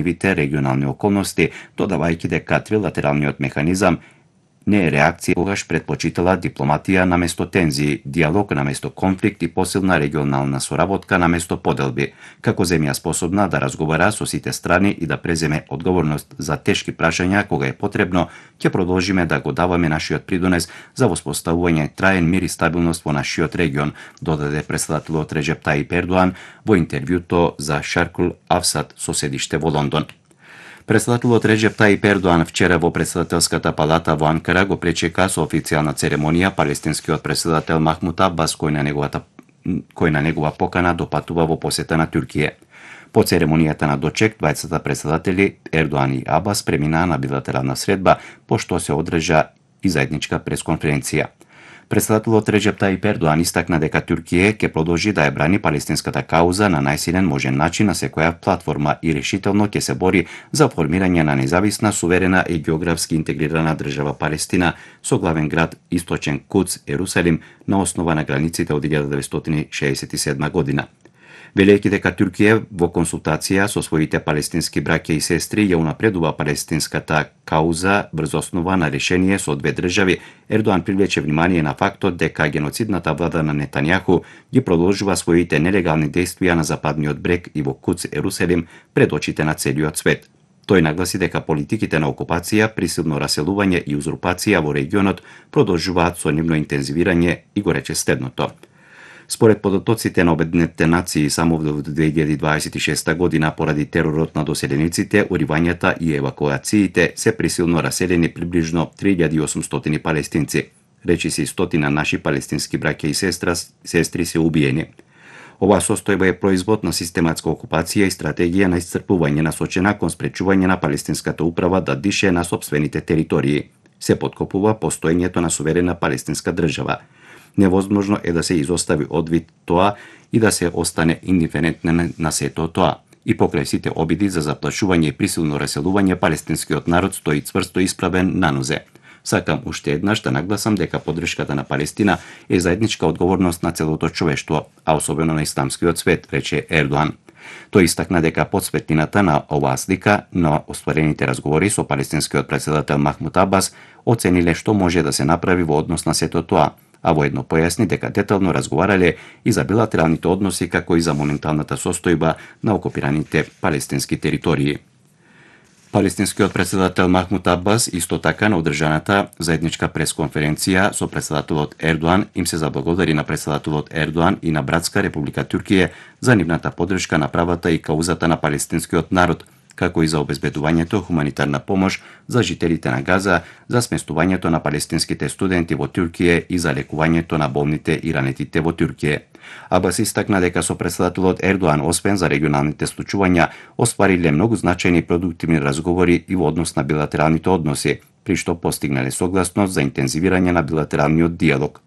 променливите регионални околности, додавајќи дека трилатералниот механизам не е реакција, когаш предпочитала дипломатија наместо тензии, диалог наместо конфликт и посилна регионална соработка наместо поделби, како земја способна да разговара со сите страни и да преземе одговорност за тешки прашања кога е потребно, ќе продолжиме да го даваме нашиот придонес за воспоставување траен мир и стабилност во нашиот регион, додаде председателот Реджеп Таип Ердоан во интервјуто за Шаркул Авсат со седиште во Лондон. Председателот Реджеп Таип Ердоан вчера во председателската палата во Анкара го пречека со официјална церемонија палестинскиот председател Махмут Абас, кој на негова покана допатува во посета на Туркија. По церемонијата на дочек, двајцата председатели Ердоан и Абас преминаа на билатерална средба, пошто се одржа и заедничка пресконференција. Председателот Реджеп Таип Ердоан истакна дека Туркија ќе продолжи да ја брани палестинската кауза на најсилен можен начин на секоја платформа и решително ќе се бори за формирање на независна, суверена и географски интегрирана држава Палестина со главен град Источен Кудс, Ерусалим, на основа на границите од 1967 година. Велејќи дека Туркија во консултација со своите палестински браќа и сестри ја унапредува палестинската кауза врз основа на решение со две држави, Ердоан привлече внимание на фактот дека геноцидната влада на Нетањаху ги продолжува своите нелегални действија на западниот брег и во Кудс, Ерусалим, пред очите на целиот свет. Тој нагласи дека политиките на окупација, присилно раселување и узурпација во регионот продолжуваат со нивно интензивирање и го рече следното. Според податоците на Обединетите нации, само во 2026 година поради теророт на доселениците, уривањата и евакуациите се присилно раселени приближно 3800 палестинци. Речиси стотина наши палестински браќа и сестри се убиени. Оваа состојба е производ на систематска окупација и стратегија на исцрпување насочена кон спречување на палестинската управа да дише на сопствените територии. Се поткопува постоењето на суверена палестинска држава. Невозможно е да се изостави одвид тоа и да се остане индиферентен на сето тоа. И покрај сите обиди за заплашување и присилно раселување, палестинскиот народ стои цврсто исправен на нозе. Сакам уште еднаш да нагласам дека поддршката на Палестина е заедничка одговорност на целото човештво, а особено на исламскиот свет, рече Ердоан. Тој истакна дека подсветлината на оваа слика на остварените разговори со палестинскиот председател Махмут Абас оцениле што може да се направи во однос на сето тоа, а воедно појасни дека детално разговарале и за билатералните односи како и за моменталната состојба на окупираните палестински територии. Палестинскиот председател Махмут Абас исто така на одржаната заедничка пресконференција со председателот Ердоан им се заблагодари на председателот Ердоан и на братска Република Туркија за нивната поддршка на правата и каузата на палестинскиот народ, како и за обезбедувањето хуманитарна помош за жителите на Газа, за сместувањето на палестинските студенти во Туркија и за лекувањето на болните и ранетите во Туркија. Абас истакна дека со председателот Ердоан, освен за регионалните случувања, оствариле многу значајни и продуктивни разговори и во однос на билатералните односи, при што постигнале согласност за интензивирање на билатералниот диалог.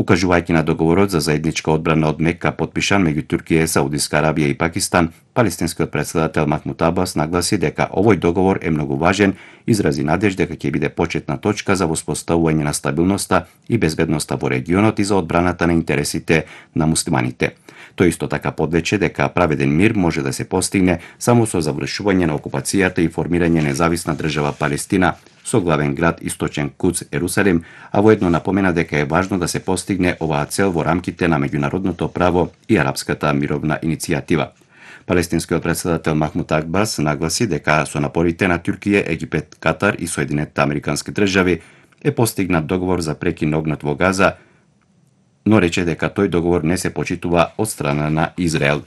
Укажувајќи на договорот за заедничка одбрана од Мека потпишан меѓу Туркија, Саудиска Арабија и Пакистан, палестинскиот председател Махмут Абас нагласи дека овој договор е многу важен, изрази надеж дека ќе биде почетна точка за воспоставување на стабилноста и безбедноста во регионот и за одбраната на интересите на муслиманите. Тој исто така подлече дека праведен мир може да се постигне само со завршување на окупацијата и формирање независна држава Палестина со главен град Источен Кудс, Ерусалим, а воедно напомена дека е важно да се постигне оваа цел во рамките на меѓународното право и арапската мировна иницијатива. Палестинскиот председател Махмут Абас нагласи дека со напорите на Туркија, Египет, Катар и Соединетите Американски држави е постигнат договор за прекин на огнот во Газа, но рече дека тој договор не се почитува од страна на Израел.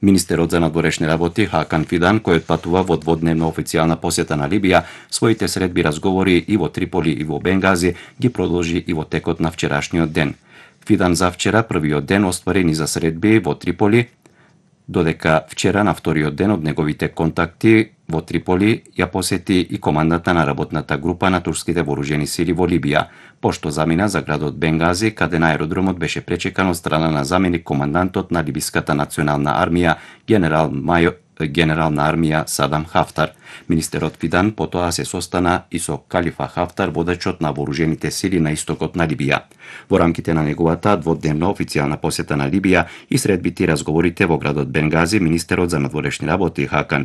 Министерот за надворешни работи Хакан Фидан, кој отпатува во дводневна официјална посета на Либија, своите средби разговори и во Триполи и во Бенгази ги продолжи и во текот на вчерашниот ден. Фидан за вчера првиот ден остварени за средби во Триполи, додека вчера на вториот ден од неговите контакти во Триполи ја посети и командата на работната група на турските вооружени сили во Либија, пошто замина за градот Бенгази, каде на аеродромот беше пречекан од страна на заменик командантот на Либиската национална армија, генерал на армија Садам Хафтар. Министерот Фидан потоа се состана и со Калифа Хафтар, водачот на вооружените сили на истокот на Либија. Во рамките на неговата дводневна официјална посета на Либија и средбите и разговорите во градот Бенгази, министерот за надворешни работи Хакан